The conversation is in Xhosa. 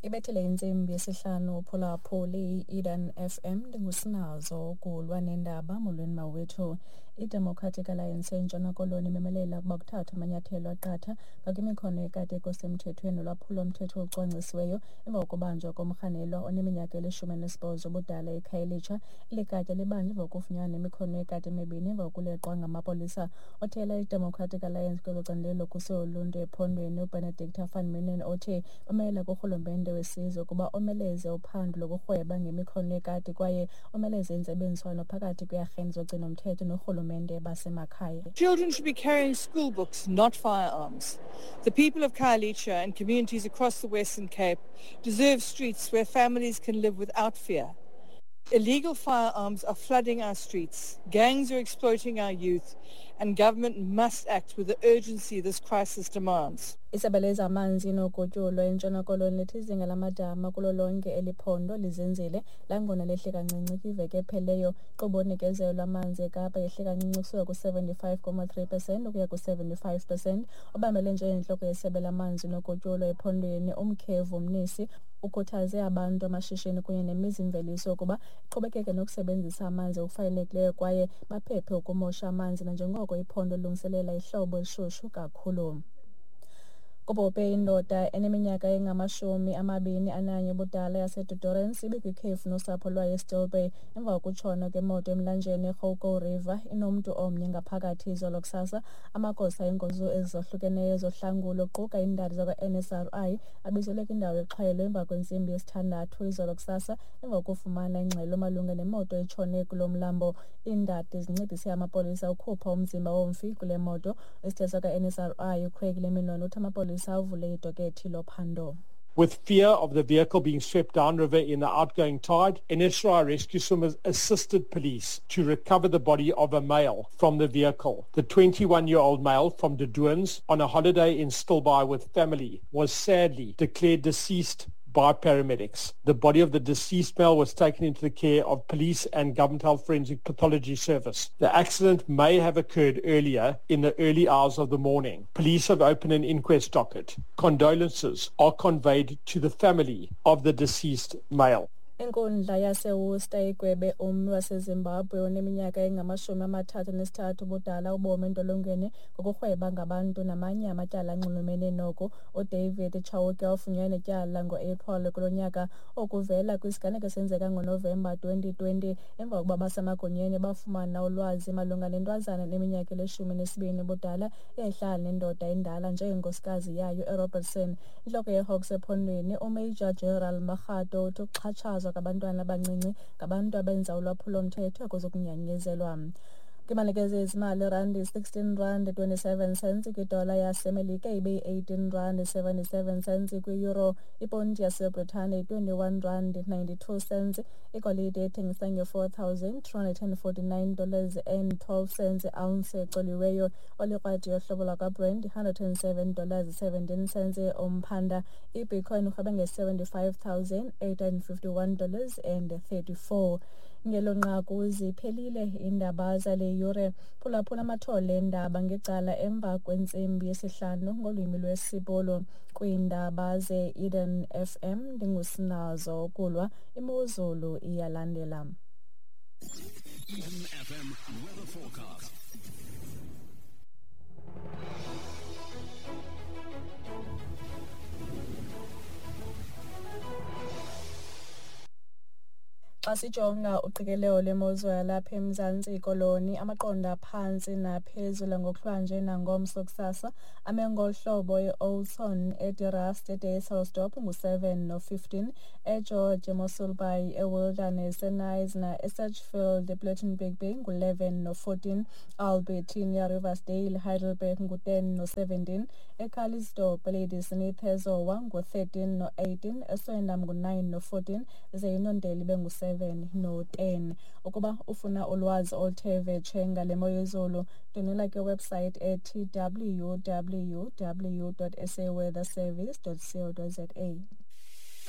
Ibethele intsimbi yesihlanu uphulaphuli i-Eden FM, ndingusinazo ukulwa nendaba. Molweni mawethu. I-Democratic Alliance eNtshona Koloni imemelela ukuba kuthathwe amanyathelo aqatha ngakwimikhono yekati ekusemthethweni nolwaphulo-mthetho olucwangcisiweyo emva kokubanjwa komrhanelwa oneminyaka eli-18 ubudala eKhayelitsha. Eli katya libanjwe emva kokufunyanwa nemikhono yekati emibini emva kokuleqwa ngamapolisa. Othela i-Democratic Alliance kwelo candelo lokhuselo loluntu ephondweni uBenedicta van Minnen othe bamelela kurhulumente wesizwe ukuba omeleze uphando lokurhweba ngemikhono yekati kwaye omeleze intsebenziswano phakathi kweearhente zogcino-mthetho norhulumente basemakhaya. Children should be carrying school books, not firearms. The people of Khayelitsha and communities across the Western Cape deserve streets where families can live without fear. Illegal firearms are flooding our streets, gangs are exploiting our youth, and government must act with the urgency this crisis demands. Isebe lezamanzi nogutyulo eNtshona Koloni lithi izinga lamadama kulo lonke eli phondo lizinzile nangona lehle kancinci kwiveki epheleyo. Inkqubo yonikezelo lwamanzi eKapa yehle kancinci ukusuka ku-75.3% ukuya ku-75%. Obambele njengentloko yesebe lamanzi nogutyulo ephondweni uMkhevu Mnisi ukhuthaze abantu, amashishini kunye nemizimveliso ukuba iqhubekeke nokusebenzisa amanzi ngokufanelekileyo kwaye baphephe ukumosha amanzi nanjengoko iphondo lilungiselela ihlobo elishushu kakhulu. Kubhubhe indoda eneminyaka engama-21 ubudala yaseDe ibikwikhefu nosapho lwayo eStill Bay emva kokutshona kwemoto emlanjeni iGoukou River inomntu omnye ngaphakathi izolo kusasa. Amagosa eenkonzo ezohlukeneyo zohlangulo kuquka iindadi zakwa-NSRI abizelwe kwindawo yexhwayelo emva kwentsimbi yesithandathu izolo kusasa emva kokufumana ingxelo malunga nemoto etshone kulo mlambo. Iindadi zincedise amapolisa ukhupha umzimba womfi kule moto. Isithethi sakwa-NSRI uCraig Leminon uthi amapolisa avule idokethi lophando. With fear of the vehicle being swept downriver in the outgoing tide, NSRI rescue swimmers assisted police to recover the body of a male from the vehicle. The 21-year-old male from De Doorns on a holiday in Stilbaai with family was sadly declared deceased by paramedics. The body of the deceased male was taken into the care of police and Government Health Forensic Pathology Service. The accident may have occurred earlier in the early hours of the morning. Police have opened an inquest docket. Condolences are conveyed to the family of the deceased male. Inkundla yaseWorcester igwebe ummi waseZimbabwe oneminyaka engama-33 ubudala ubomi entolongweni ngokurhweba ngabantu namanye amatyala anxulumene noku. UDavid Chauke wafunyanwa netyala ngo-April kulo nyaka. Oku kuvela kwisiganeko esenzeka ngoNovemba 2020 emva kokuba abasemagunyeni bafumana ulwazi malunga nentwazana eneminyaka eli-12 ubudala eyayihlala nendoda endala njengenkosikazi yayo eRobertson. Intloko yeHawks ephondweni uMajor General Makgato uthi ukuxhatshazwa kwabantwana abancinci ngabantu abenza ulwaphulo-mthetho akuzukunyanyezelwa. Kwimalike zezimali, irandi R16.27 kwidola yaseMelika, ibe yi-R18.77 kwi-euro, iponti yaseBritane yi-R21.92, igolide ethengisa nge-$4,249.12 ounce ecoliweyo, olikrwadi yohlobo lwakwaBrent $107.17 umphanda, ibitcoin irhweba nge-$75,851.34. Ngelo nqaku ziphelile iindaba zale yure. Phulaphula amathole eendaba ngecala emva kwentsimbi yesihlanu ngolwimi lwesiBhulu. Kwiindaba ze-Eden FM ndingusinazo Kulwa. Imozulu iyalandela. Eden FM weather forecast. Xa sijonga uqikelelo lwemozulu yalapha eMzantsi Koloni, amaqondo aphantsi naphezulu ngokuhlwanje nangomso kusasa ame ngolu hlobo: eOudtshoorn, eDe Rust, eDysselsdorp ngu-7 no-15, eGeorge, eMossel Bay, eWilderness, eKnysna, eSedgefield, ePlettenberg Bay ngu-11 no-14, Albertina, Riversdale, Heidelberg ngu-10 no-17, eCalitzdorp, eLadysmith, eZowa ngu-13 no-18, eSwellendam ngu-9 no-14, ze iNondeli ibe ngu-7 no-10. Ukuba ufuna ulwazi oluthe vetshe ngale mo yezulu, ndwendwela kwiwebsite ethi www.saweatherservice.co.za.